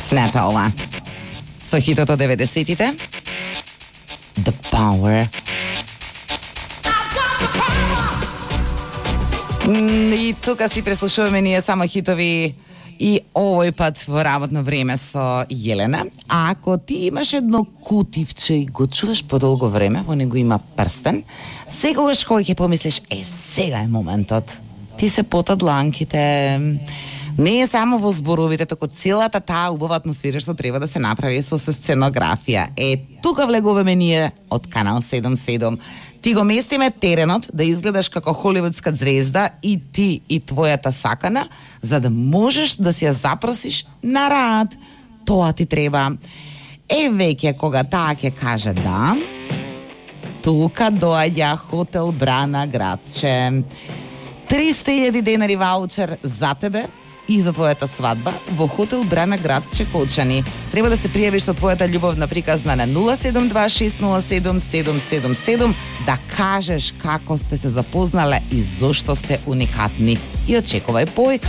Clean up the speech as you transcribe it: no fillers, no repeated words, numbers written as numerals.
Снетала. Со хитот од 90-тите. The Power. И тука си преслушуваме ние само хитови и овој пат во работно време со Јелена. А ако ти имаш едно кутивче и го чуваш подолго време, во него има прстен, секогаш кој ќе помислиш, сега е моментот. Ти се потат дланките. Не е само во зборовите, току целата таа убава атмосфера што треба да се направи со сценографија. Тука влегуваме ние од Канал 77. Ти го местиме теренот да изгледаш како холивудска звезда и ти и твојата сакана, за да можеш да си ја запросиш на рад. Тоа ти треба. Веќе кога таа ќе каже да, тука доаѓа Хотел Брана градче. 300.000 денари ваучер за тебе и за твојата свадба во Хотел Брана градче Колчани. Треба да се пријавиш со твојата љубовна приказна на 072-607-777 да кажеш како сте се запознале и зошто сте уникатни. И очекувај појка.